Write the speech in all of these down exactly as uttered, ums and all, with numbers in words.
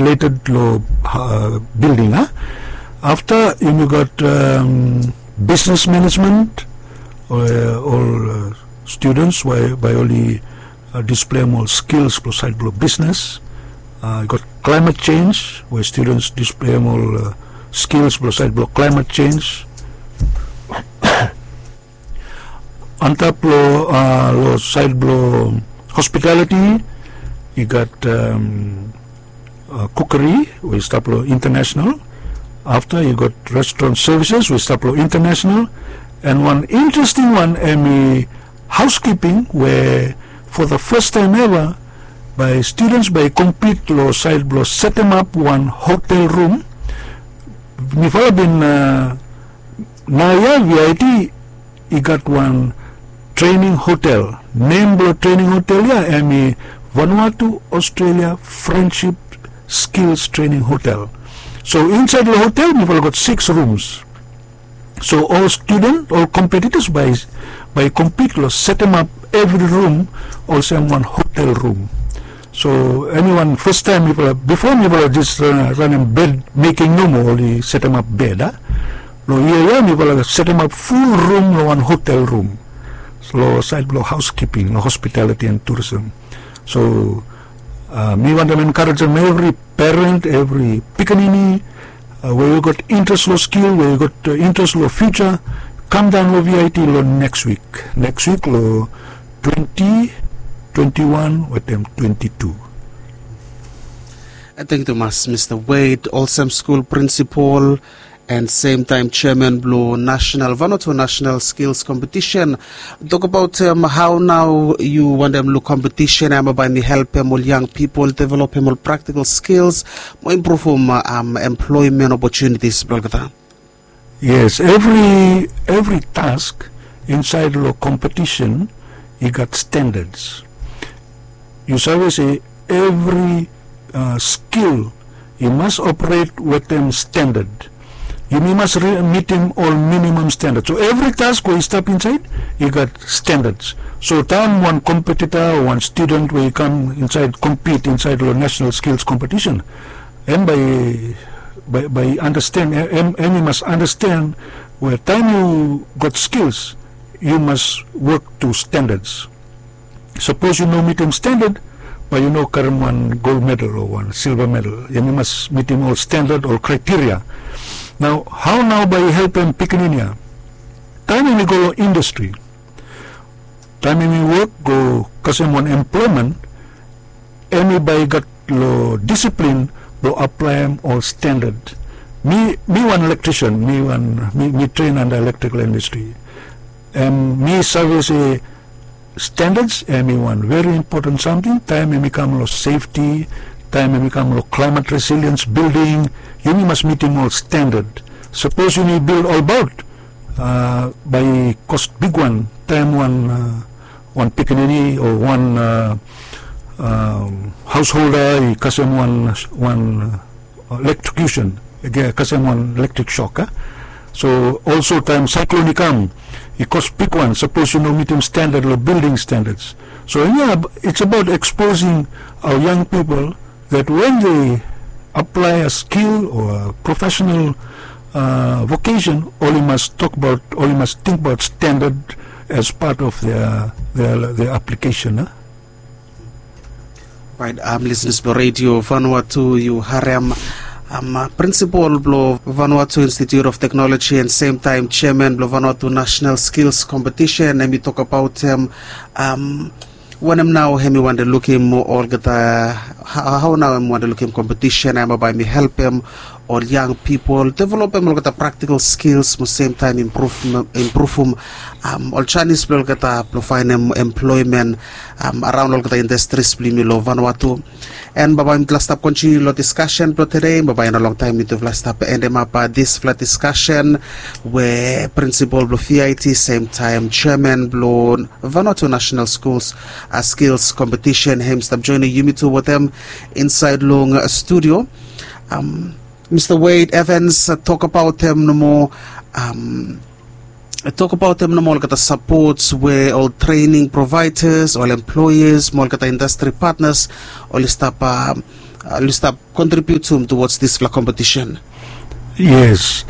updated long bilding a. Afta yumi gat bisnes manejmen, ol studens bai oli displeim ol skils blong saed blong bisnes. I gat klaimet sens we studens displeim ol skils blong saed blong klaimet sens. Antap long saed blong hospitaliti i gat kukeri we i stap long intanesenal. Afta i gat restoran sevises we i stap long intanesenal. An wan interesting wan em i hauskiping we fo the fes taem eva bai studens bai i kompit long saed blong setemap wan hotel rum. Mifala bin naoia vit i gat wan trening hotel. Nem blong trening hotel ya em i vanuatu australia friendship skils trening hotel. So insaed long hotel mifala gat siks rums. So ol studen ol kompetitas bai i kompit long setemap evri rum olsem wan hotel rum. So eniwan fastaem mifala bifo mifala jes ranem bed meking nomo oli setemap bed a. Long yia ya mifala setemap ful rum long wan hotel rum long saed blong hauskiping long hospitaliti an turism. So mi wantem enkarejem evri peren evri pikinini we yu gat interes long skil we yu gat interes long fiutsa, kamdaon long vit long neks wik neks wik long twenti twenti wan wetem twenti tu. Tengkiu tumas mista wade olsem skul prinsipol an semtaem seaman blong nasenal vanatu nasenal skils kompetisen. Tokabaot hao nao yu wantem luk kompetisen ya bai mi helpem ol yang pipol developem ol praktikal skils mo impruvum emploemen opotunitis blong olgeta. Yes, evri task insaed long kompetisen i gat standards. Yu save se evri skil i mas operet wetem standard. Yumi mas mitim ol minimam standard so evri task we i stap insaed i gat standards. So taem wan kompetita o wan studen we i kam insaed kompit insaed long nasenal skils kompetisen em bai bai bai i andasten em i mas andasten we taem yu gat skils yu mas wok tu standards. Sapos yu no mitim standard bai yu no karim wan gol medal o wan silva medal. Yumi mas mitim ol standard ol kraiteria. Nao hao nao bai i helpem pikinini ya taem yumi go long indastri taem yumi wok go kasem wan emploemen em i bai i gat long disiplin blong aplaem ol standard. Mi wan elektrisian mi wan mi tren anda elektrikal indastri. Em mi save se standards em i wan veri impoten samting taem em i kam long sefti taem em i kam long klaimat resiliens bilding. Yumi mas mitim ol standard. Sapos yumi bil olbaot bai i kos bigwan taem wan wan pikinini o wan haosholda i kasem wan wan elektrikusen i kasem wan elektrik sok a. So olso taem saeklon i kam i kos bigwan sapos yu no mitim standad long bilding standads. So ya its abaot eksposing aoa yang pipol that wen de aplae a skil o a profesenal vokesen oli mas tokbaot oli mas tingbaot standad as pat of the aplikesen a. Rait, lisnis blong redio vanua tu yu harem prinsipol blong vanua tu institut of teknoloji and semtaem jeaman blong vanua tu nasenal skils kompetisen em i tokabaot em. Wanem nao em i wande lukim olgeta hao nao em i wande lukim kompetisen em bai mi helpem ol yang pipol developem olgeta praktikal skils mo semtaem impruvum ol janis blong olgeta blong faenem emploemen araon long olgeta indastris blong yumi long vanua tu. An bambae mitla stap kontiniu long diskasen blong tede bambae i no longtaem mitufala stap endemap disfala diskasen we prinsipol blong vit semtaem jeaman blong vanua tu nasenal skuls skils kompetisen hem i stap joenem yumi tu wetem insaed long studio. Mista wade evans tokabaotem nomo tokabaotem nomo olgeta sapots we ol trening provaedas ol employers mo olgeta indastri patnas oli stap oli stap contribute to towards dispela competition? Yes,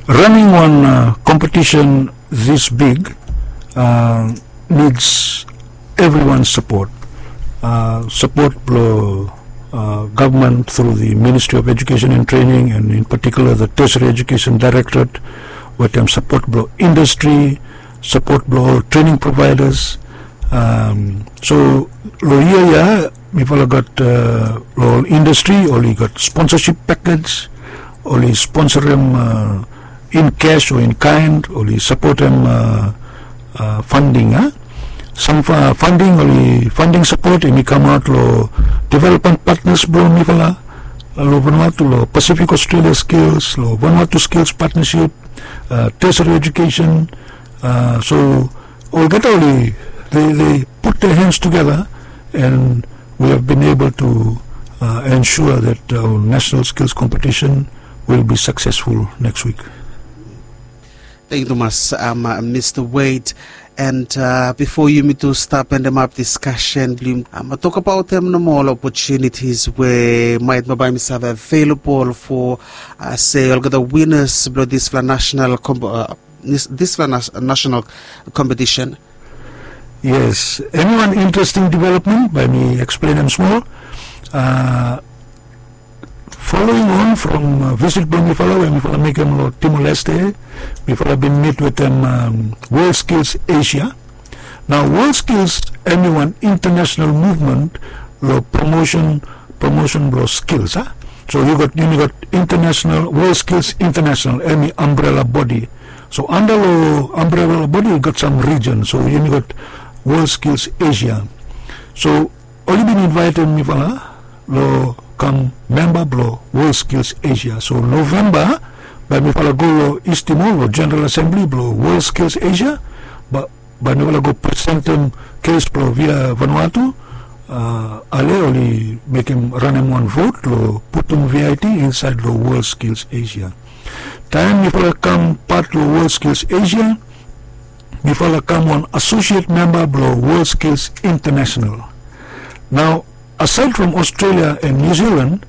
running wan competition this big needs everyone support. Support blo government through the Ministry of Education and Training, and in particular the Tertiary Education Directorate, wetem support blo industry, support blo ol training providers. So lo yia ya mifala gat lo ol industry oli gat sponsorship package, oli sponsorim in cash o in kind, oli sapotim funding a. Sam funding oli funding sapot em i kamaot lo development partners blo mifala lo Vanuatu, lo Pacific Australia Skills, lo Vanuatu Skills Partnership, Tertiary Education. So olgeta oli they put their hands together and we have been able to ensure that our national skills competition will be successful next week. Thank you tumas, Mr Wade. And bifo yumi tu stap endemap diskasen blong yumi, tok abaot em nomo ol opportunities we might bambae mi save available for se olgeta winners blong dispela national dispela national competition. Yes, em i wan interesting development bae mi eksplenem smol. Following on from visit blong mifala we mifala mekem lo Timor-Leste, mifala bin mit wetem World Skills Asia. Nao World Skills em i wan international movement lo promotion promotion blo skills a. So yu gat yumi gat international World Skills International em i umbrella body. So anda lo umbrella body i gat sam region, so yumi gat World Skills Asia. So oli bin invaitim mifala lo kam memba blo World Skills Asia. So Novemba bae mifala go lo East Timor lo General Assembly blo World Skills Asia. Bae mifala go presentem kes blo Via Vanuatu. Ale oli mekem ranem wan vot lo putum V I T insaed lo World Skills Asia. Taem mifala kam pat lo World Skills Asia, mifala kam wan associate memba blo World Skills International. Nao asaed from Australia and New Zealand,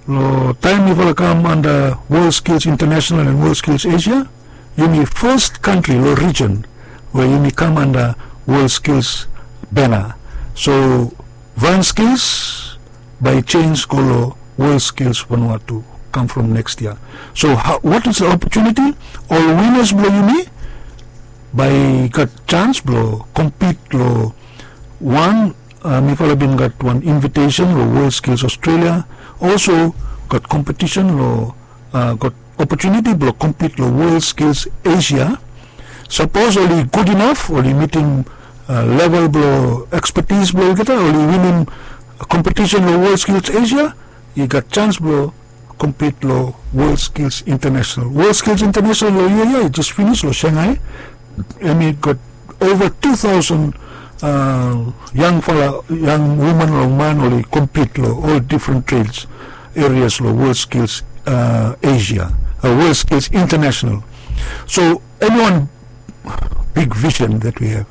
lo taem mifala kam anda World Skills International and World Skills Asia, yumi fes kantri lo region we yumi kam anda World Skills bena. So Van Skills bae i jenis go lo World Skills Vanuatu kam from next yia. So what is the opportunity? Ol winners blo yumi bae i gat jans blo kompit lo wan mifala bin gat wan invitesen lo World Skills Australia. Olso gat kompetisen lo gat opotuniti blo kompit lo World Skills Asia. Sapos oli gud inaf oli mitim level blo ekspetis blo olgeta, oli winim kompetisen lo World Skills Asia, i gat jans blo kompit lo World Skills International. World Skills International lo yia ya i jes finis lo Shanghai. Em i gat ova tu taosen yangfala, yang woman long man oli kompit lo ol difren trades erias lo World Skills Asia, World Skills International. So em i wan big vision that we have,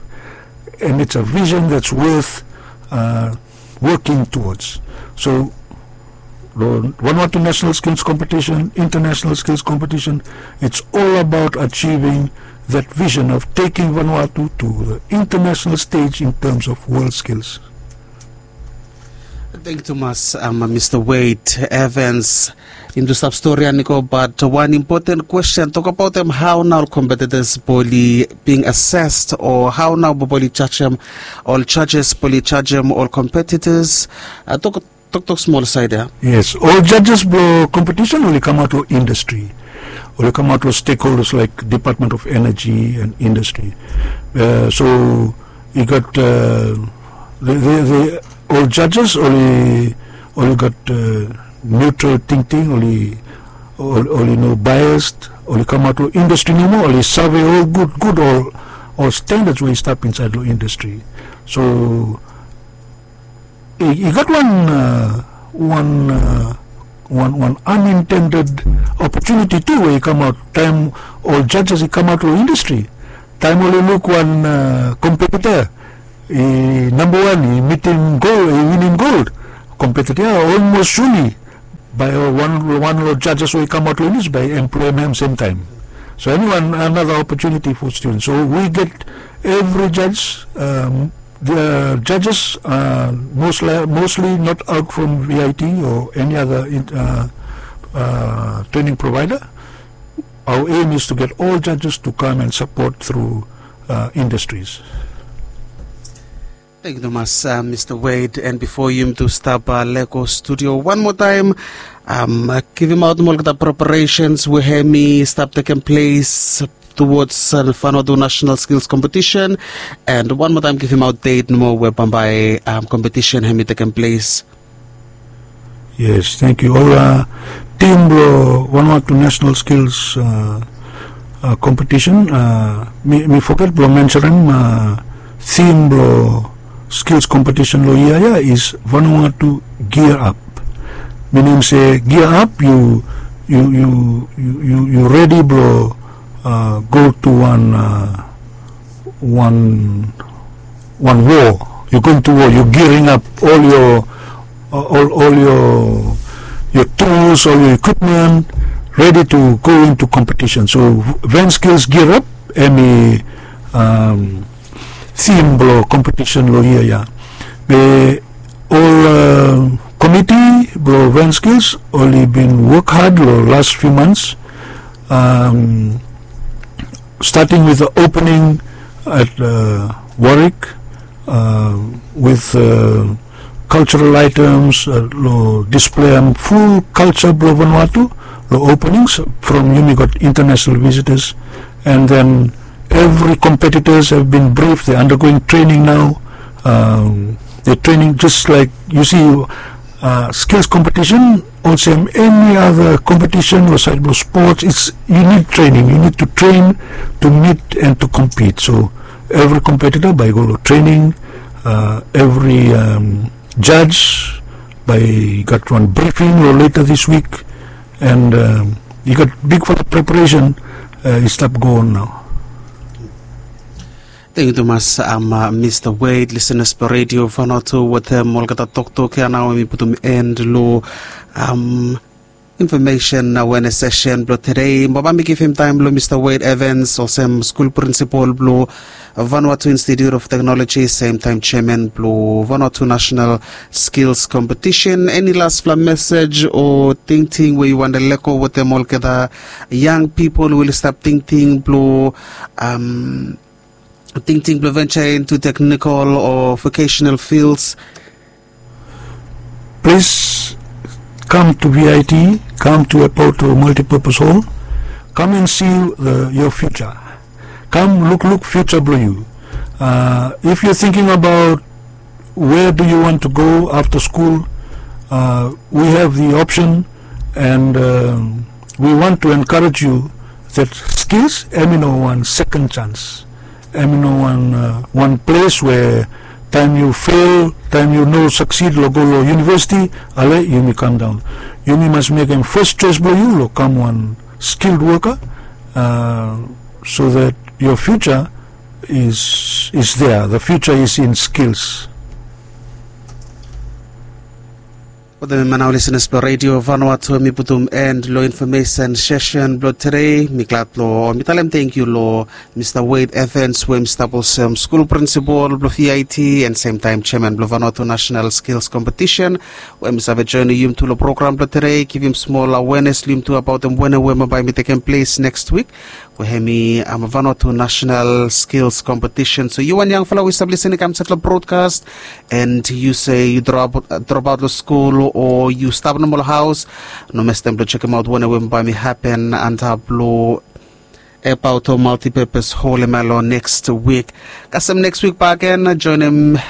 and it's a vision that's worth working towards. So Vanuatu National Skills Competition, International Skills Competition, it's all about achieving that vision of taking Vanuatu to the international stage in terms of world skills. Thank you tumas, Mr Wade Evans. Yumi tu stap stori ya i go, but wan impoten kwesten, tok abaot em hao nao ol competitors bae oli being assessed, o hao nao bae oli jajem, ol judges bae oli jajem ol competitors? Tok toktok smol saed ya. Yes, ol judges blo kompetisen oli kamaot lo indastri. Oli kamaot lo stakeholders laik Department of Energy and Industry. So i gat ol judges oli gat neutral tingting, oli no biased, oli kamaot lo indastri nomo, oli save ol gudgud ol standards we i stap insaed lo indastri. So i gat wan wan wan wan unintended opportunity tu we i kamaot taem ol judges i kamaot lo indastri. Taem oli luk wan competitor i namba wan, i mitim gold, i winim gold, kompetita ya olmos suli bai wan long judges we i kamaot long nis bai employim hem semtaim. So eniwan another opportunity for students, so we get every judge, um, the judges are mostly, mostly not out from V I T or any other uh, uh, training provider. Our aim is to get all judges to come and support through uh, industries. Thank you, Thomas. Uh, Mr. Wade, and before you to stop uh, Lego Studio one more time, um, uh, give him out more the preparations we have me stop taking place towards uh, Vanuatu National Skills Competition, and one more time give him out date no more where Bambai um, competition have me taking place. Yes, thank you. Ol uh, tim blo Vanuatu National Skills uh, uh, Competition, uh, mi, mi foget blo mentionem uh, theme blo skills competition lo yia ya is Vanuatu gear up. Minim se gear up, you you you you you, you ready blo uh, go to one uh, one one war. You're going to war. You're gearing up all your uh, all, all your your tools, all your equipment, ready to go into competition. So Van Skills Gear Up, emi um, theme blo competition lo year ya. Be all uh, committee blo Van Skills only been work hard lo last few months. Um, starting with the opening at uh, Warwick uh, with uh, cultural items, uh, lo display em full culture blo Vanuatu, lo openings from yumi got international visitors, and then every competitors have been briefed. They're undergoing training now. Um, they're training just like you see uh, skills competition, olsem any other competition lo side blo sports, it's you need training. You need to train to meet and to compete. So every competitor bai go lo training, uh, every um, judge bai gat one briefing lo later this week, and um, you got big for the preparation uh, is stop go on now. Thank you, Thomas. Um, uh, Mr. Wade, listeners blo Radio Vanuatu, wetem olgeta toktok ya nao mi putum end lo um, information awareness session blo today. Baba mi givim taim blo Mr. Wade Evans, olsem skul principal blo Vanuatu Institute of Technology, same time chairman blo Vanuatu National Skills Competition. Any last fla message o tingting we you want to let go wetem olgeta young people will stop tingting blo um, tingting blo venture into technical or vocational fields. Please come to V I T, come to Apoto Multipurpose Hall, come and see the, your future. Come look, look future blo you. Uh, if you're thinking about where do you want to go after school, uh, we have the option, and um, we want to encourage you that skills, emi no one second chance. Emi no one uh, one place where time you fail, time you no succeed lo go lo university, ale yumi come down. Yumi must make em first choice blo you lo come one skilled worker, uh, so that your future is is there. The future is in skills. Wetem hemia nao listeners blo Radio Vanuatu, mi putum end lo information session blo today. Mi glad lo mi talem thank you lo Mr. Wade Evans we mi stap olsem skul principal blo V I T and same time chairman blo Vanuatu National Skills Competition we mi save joinim yum tu lo program blo today, givim smol awareness lo yum tu abaotem wene we bai mi tekem ples next week. We hemi um, Vanuatu National Skills Competition. So yu wan yangfala we yu stap lisin i kam set long broadcast, and yu se yu drop, uh, drop out long skul o yu stap nomo long haus, no mestem blong chekim aut wanem we bai mi hapen antap long Abaoto Multipurpose Hall hemia long next wik. Kasem next wik bakegen, joinim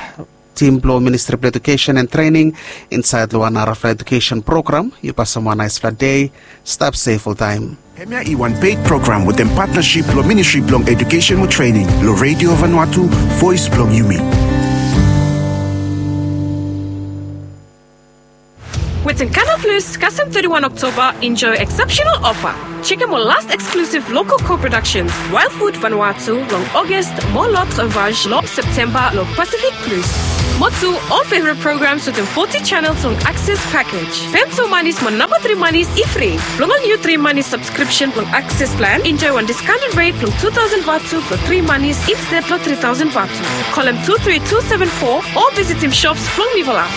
tim blong Ministri blong Edukesen and Trening insaed long wan narafala edukesen program. Yu pasem wan naesfala dei. Stap sef oltaem. Hemia i wan ped program wetem patnasip blong Ministri blong Edukesen mo Trening long Redio Vanuatu, Voes blong Yumi. Wetem Canal Plus, kasem thirty-one Oktoba, enjoy exceptional offer. Chekem ol last exclusive local co-productions, Wild Food Vanuatu long August mo L'Autre Sauvage long September long Pacific Plus. Mo tu ol favorit programs wetem foti chanels long Access pakej. Pem tu manis mo namba tri manis i fri. Blong ol niu tri manis sabskripsen blong Access plan, enjoe wan diskaonted ret blong tu taosen vatu blong tri manis insted long tri taosen vatu. Kolem tu tri tu seven fo o visitim shops blong Mivola.